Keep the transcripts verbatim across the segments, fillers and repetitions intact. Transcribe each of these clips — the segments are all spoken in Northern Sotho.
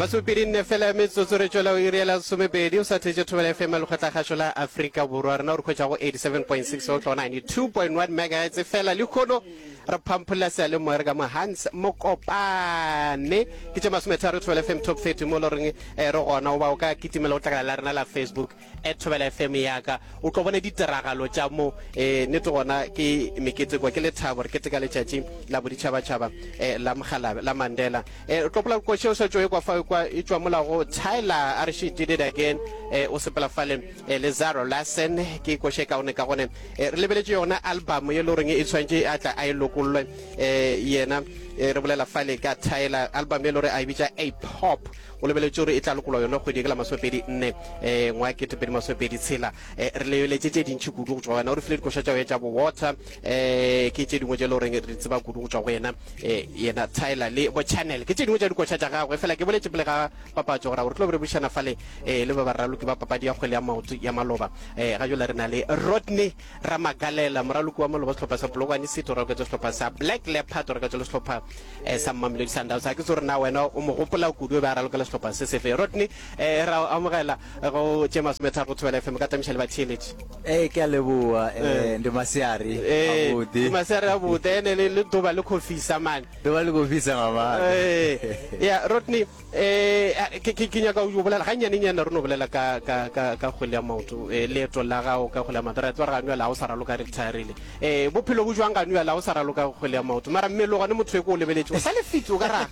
Masomepedi nne fela ya metsotso re tšwela iri ya lesomepedi. O sa theetše Thobela F M ya Lekgotlakgašo la Afrika Borwa. Rena o re hwetša go eighty-seven point six go tloga ninety-two point one megahertz. Fela lehono re phampholla seyalemoya re ka mo Hans Mokopane. Ke tše masometharo Thobela F M Top thirty mo le goreng re gona. Goba o ka kitimela go tlakala la rena la Facebook at Thobela F M ya ka. O tlo bona ditiragalo tša mo. Eh, nnete gona ke meketeko, ke lethabo, re keteka letšatši la boditšhabatšhaba eh, la Mogalabe, la Mandela. Eh, o tlo gopola koše o sa tšo ekwa fa kwa e tšwa mola go Tyla, a re she did it again. Eh, o sepela fale eh, le Zara Larsson, ke koše kaone ka gone. Eh, re lebeletše yona album ye le goreng e tshwanetše a tla a e lokollwe eh, yena eh, re bolela fale ka Tyla, album ye le gore a e bitša A Pop. O lebeletše gore e tla lokolwa yona kgwedi ke la masomepedi nne eh, ngwaga ketepedi masomepedi tshela. Eh, re lebeletše tše dintši kudu go tšwa go yena. O re file dikoša tša go tša bo Water, eh, ke tše dingwe tše le goreng re di tseba kudu go tšwa go yena, eh, yena Tyla le bo Channel, ke tše dingwe tša dikoša tša gagwe. Fela ke boletše pele ga papatšo gore re tlo be re bušana fale eh, le ba baraloki ba papadi ya kgwele ya maoto ya maloba. Eh, ga jwale re na le Rodney Ramagalela, moraloki wa maloba sehlopha sa Polokwane City, o raloketse sehlopha sa Black Leopard, o raloketse le sehlopha eh, sa Mamelodi Sundowns. Ha ke tse gore na wena o mo gopola kudu e be a ralokela sehlopha se sefe. Rodney, eh, ra o amogela go tše masometharo go Thobela F M, ka tamiša le batheeletši. Ee, ke a leboa, eh, ndi masiari Eh, abodi. ndi masiari abodi, ene le le ḓuvha le khou fhisa mane. Ḓuvha le khou fhisa nga maanḓa. Eh, ya Rodney, eh, ke ke ke nyaka o bolela ga nyane nyana re no bolela ka ka ka ka kgwele ya maoto, eh, leeto la gago ka kgwele ya maoto. Re a tseba gore ga la o sa raloka retirile. Eh, bophelo bo jwang ga la o sa raloka kgwele ya maoto? Mara mmele gone motho e ko o lebeletse, o sa le fit o ka ra.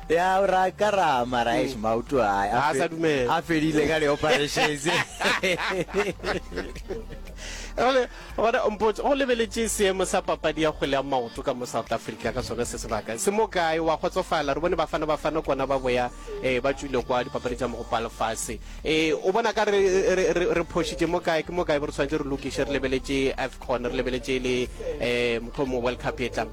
Ya o ra ka ra mara eish maoto a A sa dumela. a fedile ka di-operations. Gone gona mpotse, go lebeletše seemo sa papadi ya kgwele ya maoto ka mo South Africa ka sona se sebaka se mo kae? Wa kgotsofala? Re bone Bafana Bafana kona ba boya eh, ba tšwile kwa dipapadi tša mogopo wa lefase. Eh, o bona ka re re re re phošitše mo kae? Ke mo kae bo re tshwanetse re lokiše, re lebeletše AFCON, re lebeletše le eh, mohlomongwe World Cup e tlang?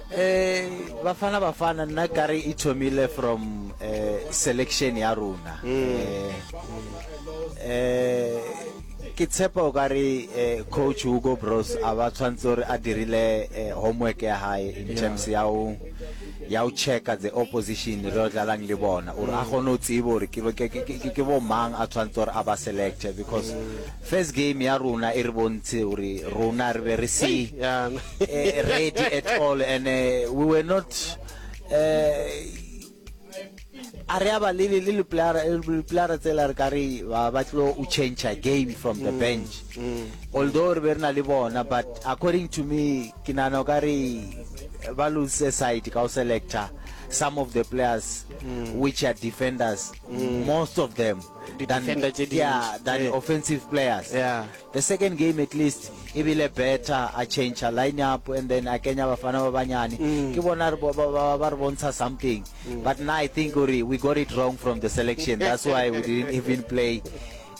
Eh, Bafana Bafana nna kare e thomile from eh, selection ya rona. Eh, eh, ke tshepa o kare eh, coach Hugo Broos a ba tshwantse gore a dirile eh, homework ya hae in terms ya o ya o checka the opposition re o dlalang le bona, gore a kgone ho tseba hore ke ke ke ke bo mang a tshwantse gore a ba select, because first game ya rona e re bontshe hore rona re be re se Yeah. eh, ready at all, and uh, we were not uh, a re a ba le le le player le player tsela re ka re ba ba tlo o change a game from the bench, although re be re na le bona, but according to me ke nahana o ka re ba lose side ka o selector some of the players which are defenders, most of them than, Di-defender tše dintši. yeah, than Yeah. offensive players. Yeah. The second game at least e bile better, a change a line up and then a kenya bafana ba banyane, ke bona re bo- ba ba ba re bontsha something, but now I think gore we got it wrong from the selection. That's why we didn't even play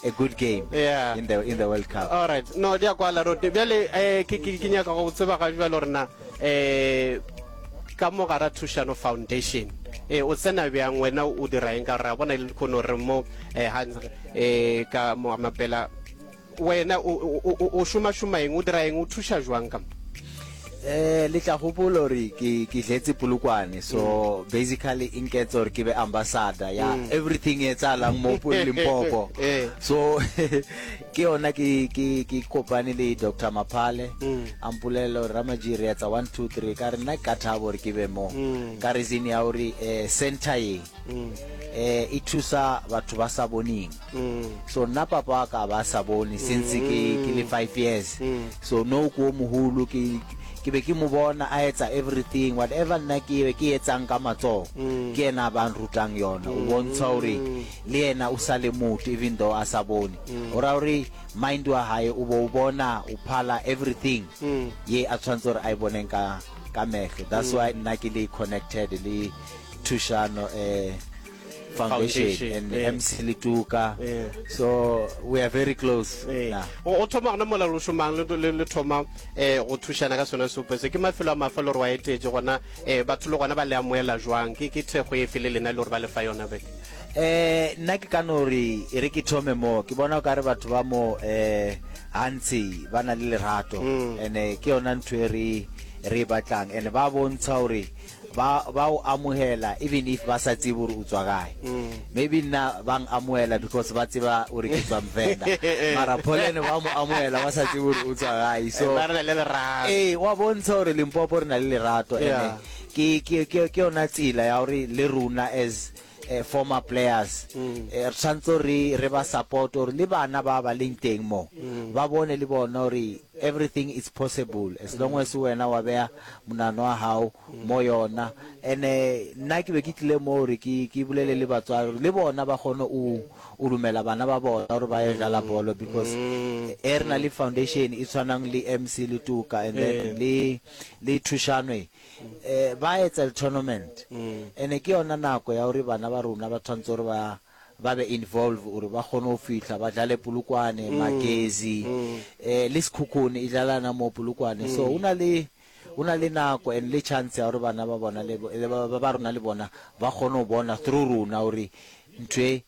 a good game Yeah. in the in the World Cup. All right, no di a kwala Rodney. Bjale eh, ke ke ke nyaka go tseba ga jwale gore na eh ka mo gara Thušano Foundation eh o tsena bjang, wena o dira eng? Ka gore ra bona le kgono re mo eh Hans eh ka mo mapela, wena o o o šoma šoma eng, o dira eng, o thuša jwang ka mo? Eh, le tla gopola gore ke ke dletse Polokwane, so basically e nketsa gore ke be ambassador ya everything e etsahalang mo Limpopo. Eh. So ke yona ke ke ke kopane le Doctor Maphale, a mpolelela gore Ramaji re etsa one two three, ka re nna ke ka thaba gore ke be mo, ka reason ya gore eh, center ye eh e thusa batho ba sa boneng. So nna papa wa ka ba sa bone since ke ke le five years, so no ko moholo ke ke be ke mo bona a etsa everything, whatever nna ke be ke etsang ka matsoho, ke yena a ba nrutang yona. O bontsha hore le yena o sa le motho even though a sa bone, o ra hore mind wa hae o bo o bona o phala everything ye a tshwantse hore a e boneng ka ka mehlo. That's why nna ke le connected le Thušano eh Foundation, Foundation, and yeah. M C Letuka. Yeah. So we are very close Eh, now. o o thoma gona mola lo šomang le le le thoma eh go thušana ka sona seopo se, ke mafelo a mafa le gore wa etetše gona eh batho le gona ba le amoela jwang? Ke ke thekgo efe le lena le gore ba le fa yona beke? Eh, nna ke ka no re e re ke thome mo, ke bona o kare batho ba mo eh gantsi ba na le lerato, and eh, ke yona ntho e re re e batlang, and ba bontsha gore Ba ba o amohela even if ba sa tsebe gore o tswa kae. Maybe nna ba ng amohela because ba tseba gore ke tswa Mvenda. Mara Pollen ba mo amohela ba sa tsebe gore o tswa kae. So ba re na le lerato. Ee, wa bontsha gore Limpopo re na le lerato ene Yeah. ke ke ke ke yona tsela ya gore le rona as eh, former players eh, re tshwanetse re re ba support gore le bana ba ba leng teng mo ba bone le bona gore everything is possible as long as wena wa beya monano wa hao mo yona. Ene nna ke be ke tlile mo gore ke ke bolele le batswadi gore le bona ba kgone o o dumela bana ba bona gore ba ye dlala bolo, because e re na le foundation e tshwanang le M C Letuka and then le le Thushanwe, eh ba etsa tournament, ene ke yona nako ya gore bana ba rona ba tshwanetse gore ba ba be involve gore ba kgone go fihla ba dlale Polokwane, Magezi, eh le Sekhukhune e dlalana mo Polokwane. So o na le o na le nako and le chance ya gore bana ba bona le bo- le ba ba rona le bona ba kgone go bona through rona gore ntho e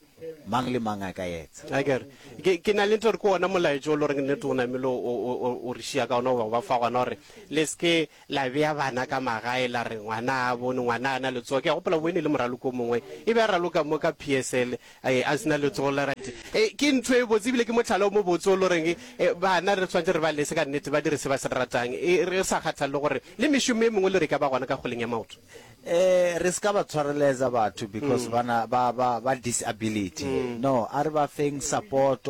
mang le mang a ka etsa. Akere ke ke na le ntho gore ke ona molaetso o le goreng nnete o namile o- o o- o re šia ka ona goba ba fa gona gore le seke la bea bana ka magae la re ngwana a bone ngwana a na letsogo. Ke a gopola boene le moraloko o mongwe e be a raloka mo ka P S L, eh, a sena letsogo la right. Eh, ke ntho e botse ebile ke motlhala o mo botse o le goreng eh, bana re tshwanetse re ba lese ka nnete ba dire se ba se ratang, e re sa kgathalele gore le mešomo e mengwe le re ka ba gona ka kgoleng ya maoto. eh re ska ba tshwareletsa batho because bana ba ba ba disability. No, a re ba feng support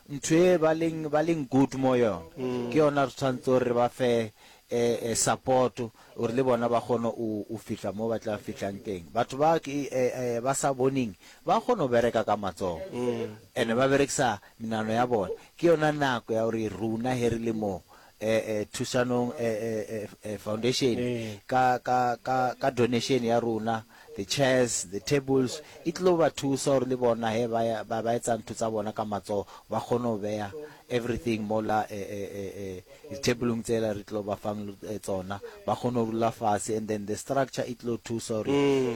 ntho e ba leng ba leng good mo yona. Ke yona re tshwanetse gore re ba fe eh, eh support gore le bona ba kgone o o fihla mo ba tla fihlang teng. Batho ba ke eh, eh, ba sa boneng ba kgone go bereka ka matsogo and ba berekisa menano ya bona. Ke yona nako ya gore rona he re le mo eh eh Thusanong eh, eh, eh, eh, foundation Eh. ka ka ka ka donation ya rona, the chairs, the tables, e tlo ba thusa gore le bona he ba ya- ba ba etsa ntho tsa bona ka matsogo ba kgone go beya everything mola eh, eh, eh, eh, di-tableng tsela re tlo ba fang eh, tsona, ba kgone go dula fatshe, and then the structure e tlo thusa gore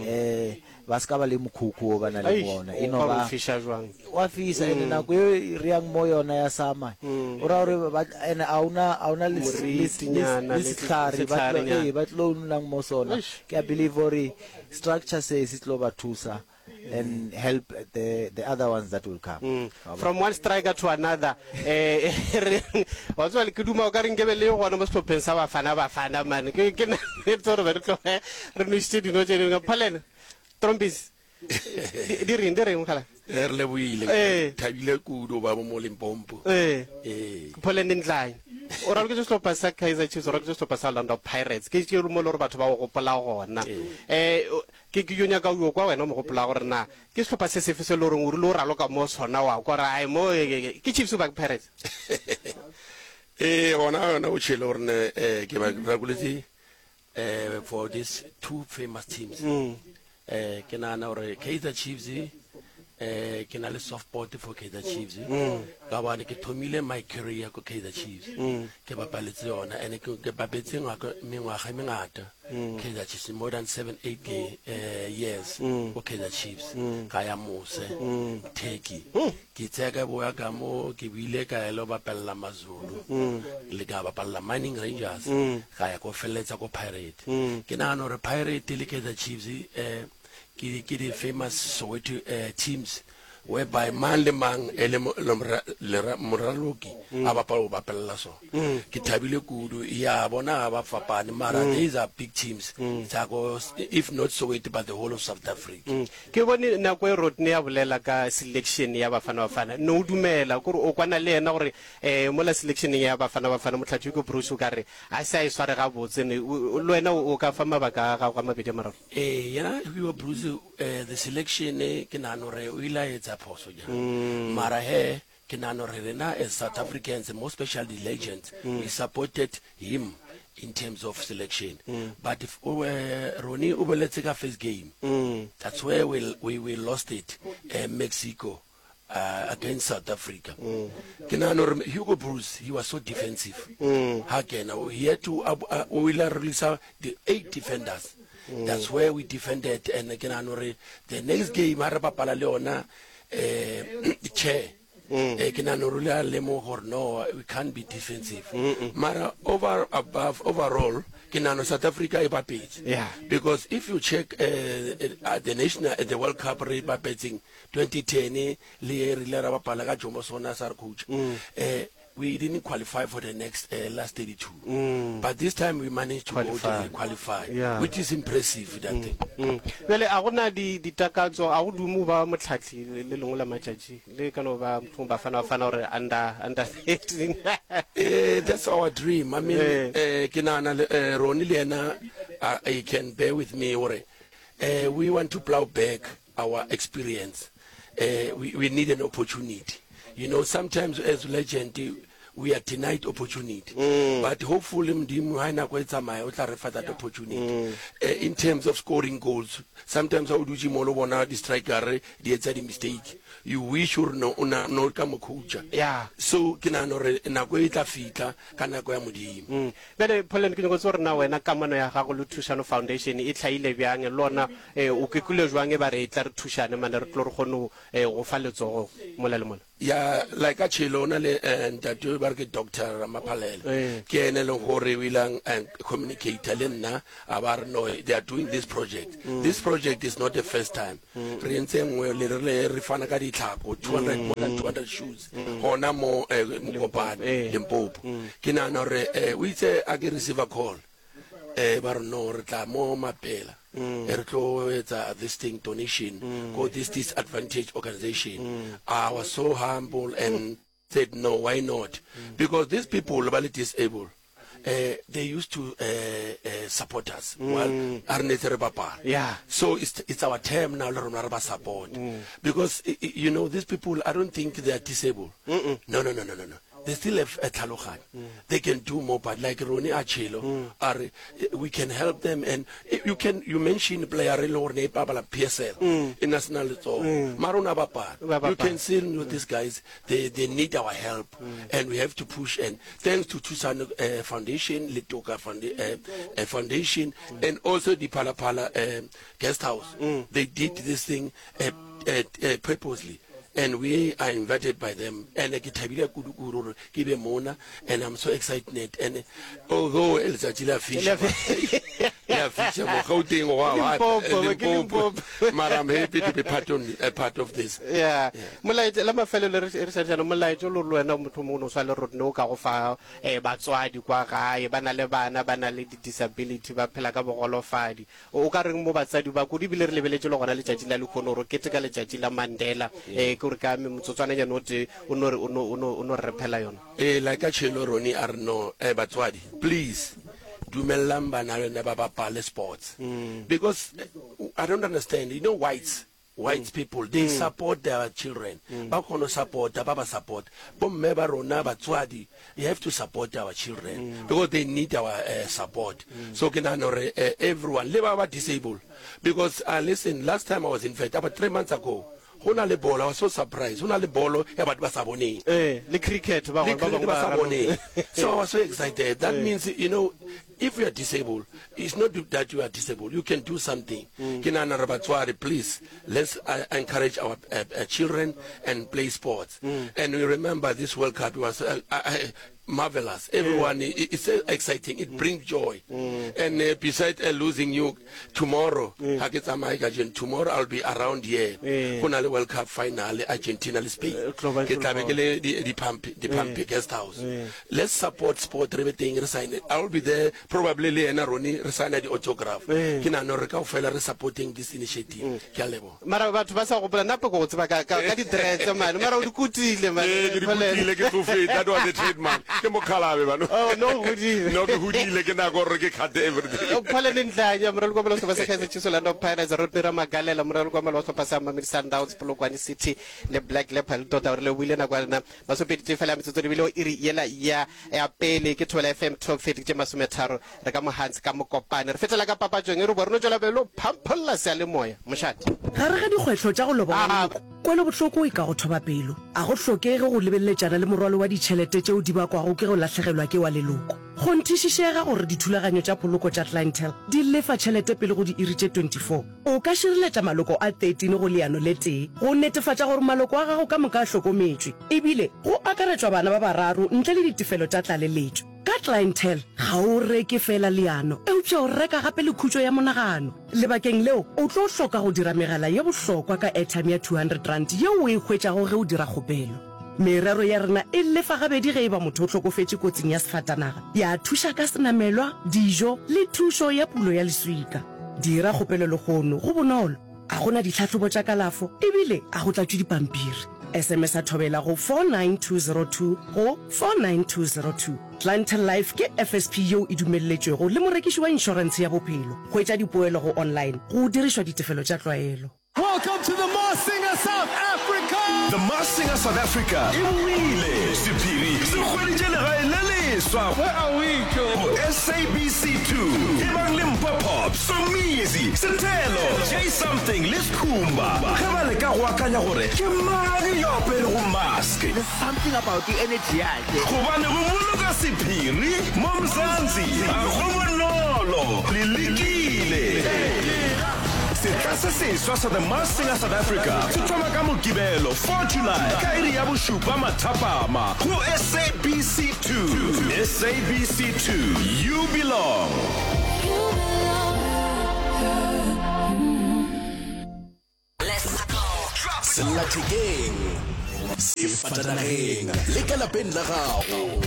eh ba ska ba le mokhukhu o ba na le Eish, bona o e no ka ba re fiša jwang. Wa fisa ene nako e re yang mo yona ya sama o ra gore ba ene a una a una le le- le Moritinyana, le le setlhare ba tlo setlharenyana. ee ba tlo nnang mo sona. Eish. Ke a believe gore structure se se tlo ba thusa and help the the other ones that will come. Mm. From one striker to another, eh re- wa tseba le ke duma o ka re nkebe le gona mo sehlopheng sa Bafana Bafana man. Ke ke na- gore be re tloge re nwešitše dino tše dingwe. Phalene Trompis, di di reng di reng mogala? Eh, re leboile. Eh. Thabile kudu ba mo Limpopo. Ee. Ee. Pholene Ntlanye, o raloketse sehlopha sa Kaizer Chiefs, o raloketse sehlopha sa Orlando Pirates, ke ke mo le gore batho ba go gopola gona. um ke ke yo nyaka o kwa wena o mo gopola gore na ke sehlopha se sefe se le goreng o rile o raloka mo sona wa kwa gore ai mo eh, ke Chiefs ba ke Pirates? Ee, gona yona o tšhele gore ne eh, ke ba rakoletse eh for these two famous teams. eh ke nagana gore Kaizer Chiefs, eh ke na le soft spot for Kaizer Chiefs ka bane ke thomile my career ko Kaizer Chiefs, ke bapaletse yona and ke ke bapetse ngwaka mengwaga e mengata Kaizer Chiefs, more than seven eight eh, years ko Kaizer Chiefs. Ka ya mose Turkey, ke tsaya ka boya ka mo, ke bile ka ya lo bapalla Mazulu le ka bapalla Mining Rangers, ka ya ko felletsa ko Pirate. Ke nagana gore Pirate le Kaizer Chiefs eh ke ke di famous Soweto eh, teams whereby mang le mang e le mo- le mora- le ra- moraloki a bapala o bapella sona. Ke thabile kudu ya bona ga ba fapane, mara these are big teams tsa ko, if not Soweto but the whole of South Africa. Mm. Ke bone nako e Rodney ya bolela ka selection ya Bafana Bafana, ne o dumela kore o kwana le yena gore um mola selectioneng ya Bafana Bafana motlhatsi ke Bruce o ka re a se a e sware gabotse ne o- o- le wena o o ka fa mabaka a gago a mabedi a mararo? Ee, yena Hugo Bruce, eh, the selection eh, ke nahana gore o ile a etsa phoso jang, mara he ke nahana gore rena as South Africans, more especially the legends, we supported him in terms of selection. But if uh, Ronnie o boletse ka first game, that's where we, we, we lost it, uh, Mexico uh, against South Africa. Ke nahana gore Hugo Bruce, he was so defensive ha kena, he had to uh, uh, o ile a release the eight defenders. That's where we defended, and ke nahana gore the next game ha re bapala le yona eh chair Eh, ke nahana gore o ile a lemoga gore no we can't be defensive mara over above overall ke nahana South Africa e bapetse Yeah. because if you check uh, uh, the national uh, the World Cup re bapetseng twenty ten le e re ile ra bapala ka Jomo Sono sa re coach eh we didn't qualify for the next uh, last thirty-two but this time we managed to Qualify. go to qualify Yeah. which is impressive that thing Mm. Bjale a gona di ditakatso a go dume ba motlhatlhi le le lengwe la matšatši le ka no ba mohlomong Bafana Bafana gore under under thirteen Eh, that's our dream. I mean, Eh. eh, ke nahana le eh, Ronnie le yena uh, he can bear with me hore eh, we want to plow back our experience. Eh, we, we need an opportunity. You know, sometimes as legend we are denied opportunity. But hopefully Modimo ha nako e tsamaya o tla re fa that opportunity. Eh, in terms of scoring goals, sometimes ha o dutse mo lo bona di striker di etsa di mistake. You wish hore no o na no ka mo coacha. Yeah. So ke nahana hore nako e tla fitla ka nako ya Modimo. Mm. Bjale Pollen ke nyako tseba gore na wena kamano ya gago le Thušano Foundation e tlhaile bjang le ona eh, o kekile jwang e ba re e tla re thušane mane re tlo re kgone go eh, go fa letsogo mola le mola ya like a tšhelo o na le eh, ntate ba re ke Doctor Ramaphalele Eh. ke ene e leng gore o ilang communicator le nna a ba re no they are doing this project this project is not the first time re entse nngwe le re le re fana ka ditlhako two hundred more than two hundred shoes gona mo eh, Mokopane Eh. Limpopo ke nahana gore eh, o itse a ke receive a call eh ba re no re tla mo mapela e re tlo etsa this thing donation go this disadvantaged organization I was so humble and said no why not because these people ba le disabled uh, they used to uh, uh, support us while a re netse re bapala Yeah. so it's, it's our term now le rona re ba support because i- i- you know these people I don't think they are disabled no no no no no no they still have a tlhaloganyo they can do more but like Ronnie Achelo are we can help them and eh, you can you mention player e le gore ne e bapala P S L e national letsogo mara o na bapala Ba you bapala. can see you know, these guys they they need our help and we have to push and thanks to Thusano uh, Foundation Letoka Founda- uh, uh, Foundation and also the Phala Phala um, guest house they did this thing uh, uh, uh, purposely and we are invited by them and ke thabile kudu kudu gore ke be mona and I'm so excited and although letsatsi la fisha la fisha mo Gauteng wa wa Limpopo, ke Limpopo Limpopo. mara I'm happy to be part on a part of this yeah molaetša la mafelelo re re sa jaanong molaetša o le le wena motho mongwe o no swa le rone o ka go fa um batswadi kwa gae ba na le bana ba na le di-disability ba phela ka bogolofadi o o ka reng mo batsadi ba kudu ebile re lebeletse le gona letšatši la lekgono gore keteka letšatši la Mandela um ke gore ka motsotswananyane o tee o no re- o no- o no o no re rephela yona eh like a tšhelo Ronnie a re no eh batswadi please dumellang bana lena ba bapale sports because eh, I don't understand you know whites white people they support their children ba kgona ho support ba ba support bomme ba rona batswadi you have to support our children because they need our uh, support so ke nahana hore uh, everyone le ba ba disabled because uh, listen last time I was in fact about three months ago go na le bolo I was so surprised go na le bolo ya batho ba sa boneng ee le cricket ba le bangwe ba cricket bangwe ba sa ba boneng so I was so excited that means you know if you are disabled it's not that you are disabled you can do something ke nahana re batswadi please let's uh, encourage our uh, uh, children and play sports and we remember this World Cup was uh, uh, uh, marvelous everyone it, it's so exciting it brings joy and uh, beside uh, losing you tomorrow ha ke tsamaye kajeno tomorrow I'll be around here Eh. go na le World Cup final Argentina le Spain Eh, tlo ba- ke tlabe ke le di di pump di pump guest house let's support sport re be teng re sign I will be there probably le yena Ronnie re sign di autograph Eh. ke nahana hore kaofela re supporting this initiative ke a leboha mara batho ba sa gopola nna pe ko go tseba ka ka ka di-dreads mane mara o di kutile mane ee ke di kutile ke tsofetse that was the trademark ke mokhalabe bano Oh, no o godile no ke hodile ke nako gore ke cut everything Pollen Ndlanya moraloki wa sehlopha sa Kaizer Chiefs Orlando Pirates Rodney Ramagalela moraloki wa sehlopha sa Mamelodi Sundowns Polokwane City le Black Leopard tota gore le buile nako ya lena masomepedi tee fela ya metsotso lebile o iri yela ya ya pele ke Thobela F M top thirty tše masometharo re ka Mohans ka Mokopane re fetela ka papatšong e re bo re no tšwela pele o phampholla seyalemoya mošate Gare ga dikgwetlho tša go loba Ah. leloko kwelobohloko e ka go thoba pelo a go hlokege go lebeleletšana le morwalo wa ditšhelete tšeo di bakwago ke go lahlegelwa ke wa leloko Kgonthišišega gore dithulaganyo tša poloko tša Clientele di lefa tšhelete pele go diiri tše twenty four. O ka šireletša maloko a thirteen go leano le tee go netefatša gore maloko a gago ka moka a hlokometšwe, ebile go akaretšwa bana ba bararo ntle le ditefelo tša tlaleletšo. Ka Clientele, ga o reke feela leano, eupša o reka gape le khutšo ya monagano. Lebakeng leo, o tlo hloka go dira megala ye bohlokwa ka airtime ya two hundred rand yeo o e hwetšago ge o dira kgopelo. Merero ya rena e lefa gabedi ge e ba motho o hlokofetše kotsing ya sefatanaga, ya thuša ka senamelwa, dijo le thušo ya pulo ya leswika. Dira kgopelo lehono, go bonolo, ga go na ditlhahlobo tša kalafo ebile ga go tlatšwe dipampiri. S M S-a Thobela go four nine two zero two go four nine two zero two. Clientele Life ke F S P yeo e dumelletšwego le morekiši wa inšorentshe ya bophelo. Hwetša dipoelo go online go dirišwa ditefelo tša tlwaelo. Welcome to the Masked Singer South Africa! The Masked Singer South Africa e boile! Sephiri se hweditše legae le leswa Where are we, Joe? Go S A B C two. Ebang le Mpho Pop, Somizi, Sethelo, J Something le Skhumba ge ba leka go akanya gore ke mang yo a aperego mask. There's something about the energy yake. Gobane go boloka sephiri mo Mzansi ga go bonolo. Le lekile. Setla se seswa sa The Masked Singer South Africa se thoma ka Mokibelo four July ka iri ya bošupa mathapama go S A B C two. S A B C two, you belong. Sellathekeng, sefatanageng le ka lapeng la gago.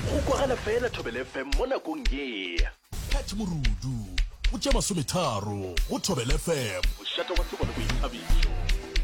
Go kwagala fela Thobela F M mo nakong ye. Pat Morudu, go tše masometharo go Thobela F M. Mošate wa tsebo le boithabišo.